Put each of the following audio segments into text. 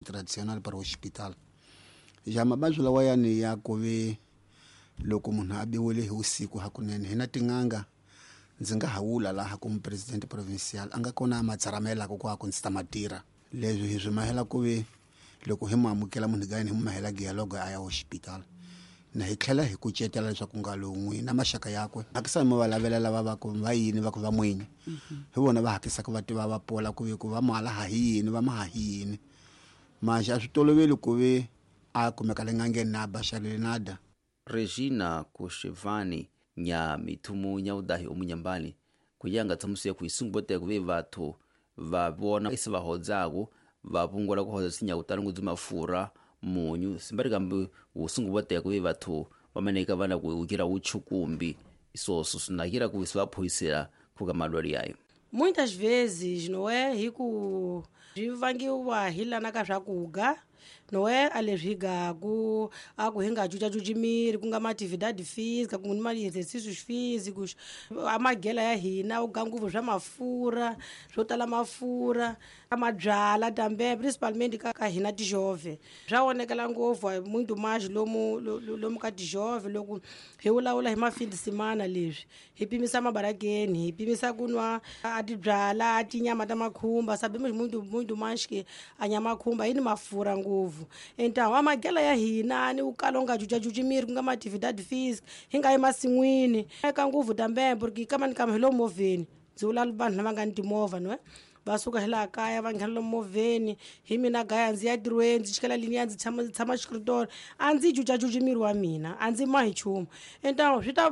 Tradicional para hospital. Ja mavabyi lawayani ya ku ve loko munhu a biwile hi vusiku hakunene hi na tin'anga ndzi nga ha vula laha ku mupresidente provincial a nga kona a ma tsaramelaka ku a ku ndzi ta ma tirha leswi hi swi mahela ku ve loko hi mu amukela munhu gayini hi mu mahela dialogue a ya hospital na hi tlhela hi kucetela leswaku nga lowu na maxaka yakwe hakisa mi va lavela lava va ku va yini va ku va mwinyi hi vona va hakisaka va tiva va pola ku ve ku va mala ha hi yini va ma ha hi yini manje a swi toloveli ku ve a kumeka le n'angeni na baxalele nada. Regina Kushevani nya mithumu nya udahi omunyambani kuyanga tsamusiya kuisungu bote kuve vathu va vona isi va hodzaku va pungula ku hodza sinya kutani ngudzi mafura munyu simbari kambi wusungu bote kuve vathu vamaneka vana kuukira uchukumbi isoso sinakira ku sivaphoyisela kuka malwali yayo. Muitas vezes, não é, hi ku swi vangiwa hi lana ka swakudya, não é, a leswi hi gaku a ku hi nga cucacuci miri ku nga ma-atividade física ku ni ma-exercícios físicos a magela ya hina u ga ngopfu swa mafurha swo tala mafurha a mabyala tambe principalmente ka hina tijove swa onekela ngopfu muito mais lomu lomu ka tijove loko hi vulavula hi mafindi semana leswi hi pimisa mabarakeni hi pimisa ku nwa a tibyala a tinyama ta makhumba sabemos muito muito mais que a nyama khumba yi ni mafurha ngopfu então a magela ya hina ni ukala u nga cucacuci miri ku nga ma-atividade física hi nga yi masin'wini eka ngopfu tambe porque kama ni kama hi lomu movheni ndzi vula vanhu lava nga ni timovha no va suka hi laha kaya va nghena lomu movheni hi mina gaya ndzi ya ntirhweni ndzi chikela liniya ndzi tshama xikritola a ndzi cucacuci miri wa mina a ndzi mahi nchumu então swi ta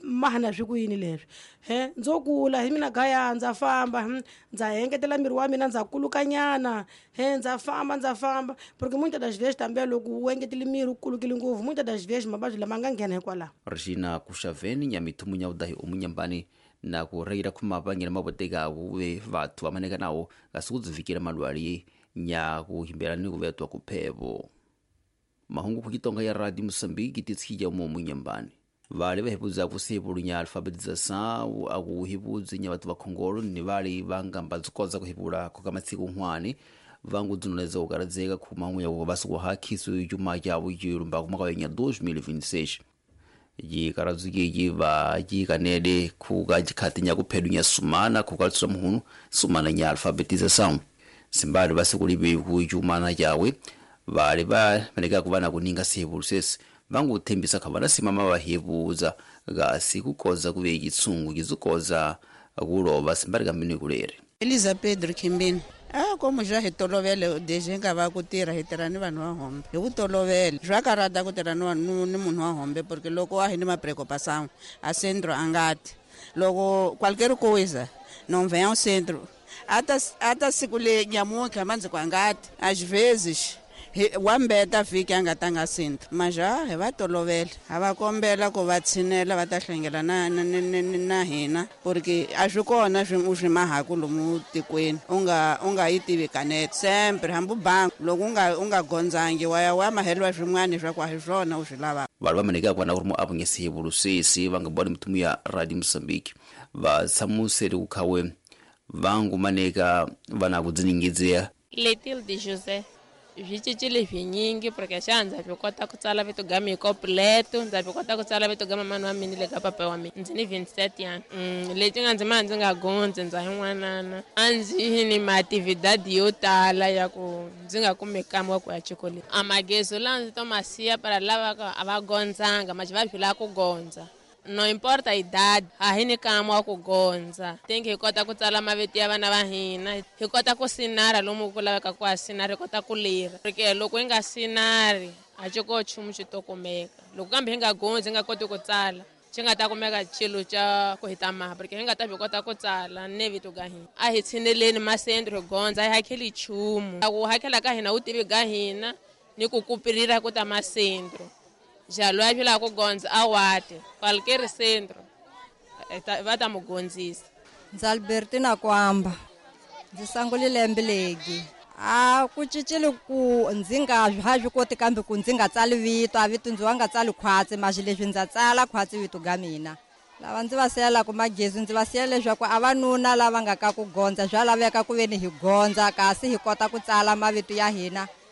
mahana swi ku yini leswi he ndzo kula hi mina gaya ndza famba ndza engetela miri wa mina ndza kulukanyana he ndza famba porque muitas das vezes também loko u engetele miri u kulukile ngopfu muitas das vezes mavabyi lama nga nghena hikwalaho. Regina Kushaveni nya mithumu nya udahi omunyambani na kureira khumapangela maboteka kuve vathu vamaneka nawo kasi kudzivikela malwali nya kuhimbela ni kuvetwa kuphevo. Mahungu kukitonga ya Radio Mozambique titshija mo munyambani vali vahepudza kusihepulunya alfabetização akuhipudzi nya vathu va khongolo ni vali vangamba dzikoza kuhipula khoka matsiku nkhwani vangu dzinoneza kukaradzeka khumahungu ya kuvasiku hakhisu yuma yawu yilumba kumaka ya 2026 yikaradzukeyi va yikanele khuka jikhati nya kuphedunya sumana khukalitsula muhunu sumana nya alfabetização simbali vasikulibe kuyumana yawe vali va maneka kuva na kuninga sihepulu sesi vanguthembisa kha vana simama vahevuza kasi kukoza kuve yitsungu yizikoza kulova simbali kambini kulere. Elisa Pedro Kimbini a como já hi tolovele desde hi nga va ku tirha hi tirha ni vanhu va hombe hi ku tolovele swa karata ku tirha ni vanhu ni munhu wa hombe porque loko a hi ni mapreocupação a centro a nga ti loko qualquer coisa não vem ao centro ata siku le nyamuntlha mandzi ku a nga ti às vezes wa mbeta vhiki a nga tanga centro mas já hi va tolovela a va kombela ku va tshinela va ta hlengela na hina porque a swi kona swi u swi mahaku lomu tikweni u nga yi tivi kanete sempre hambi bangi loko u nga gondzangi wa ya wa maheliwa swin'wana swa ku a hi swona u swi lavaka. Vanhu va maneka ku na ku ri muavanyisi vulusisi va nga boni mithumu ya Radio Mozambique va tshamuseli ku khawe vangu maneka va na ku dziningidzea. Letilde José swi cincile swinyingi porque xa ndza swi kota ku tsala vito ga mina completo ndza swi kota ku tsala vito ga mamani wa mina le ka papa wa mina ndzi ni 27 yana leti nga ndzi ma ndzi nga gondzi ndza yin'wanana a ndzi ni maatividade yo tala ya ku ndzi nga kumi kamwe wa ku ya xikolweni a magezo lawa ndzi to ma siya para lava a va gondzanga ma va swi lava ku gondza no importa a idade a hi ni kamwe wa ku gondza think hi kota ku tsala mavito ya vana va hina hi kota ku sinara lomu ku laveka ku a sinara hi kota ku lira porque loko hi nga sinari a xi ko nchumu xi to kumeka loko kambe hi nga gondzi hi nga koti ku tsala xi nga ta kumeka xilo xa ku hi ta maha porque hi nga ta swi kota ku tsala ne vito ga hina a hi tshineleni masendro hi gondza a hi hakeli nchumu ku hakela ka hina wu tivi ga hina ni ku kupirira ku ta masendro jalo a vila ku gondza a wate qualquer centro va ta mu gondzisa. Ndzi Albertina Kwamba ndzi sangulile Mbilegi a ku cincile ku ndzi nga ha swi koti kambe ku ndzi nga tsali vito a vito ndzi wa nga tsali khwatsi maxi leswi ndza tsala khwatsi vito ga mina lava ndzi va siyelaka magezi ndzi va siyela leswaku a vanuna lava nga ka ku gondza swa laveka ku veni hi gondza kasi hi kota ku tsala mavito ya hina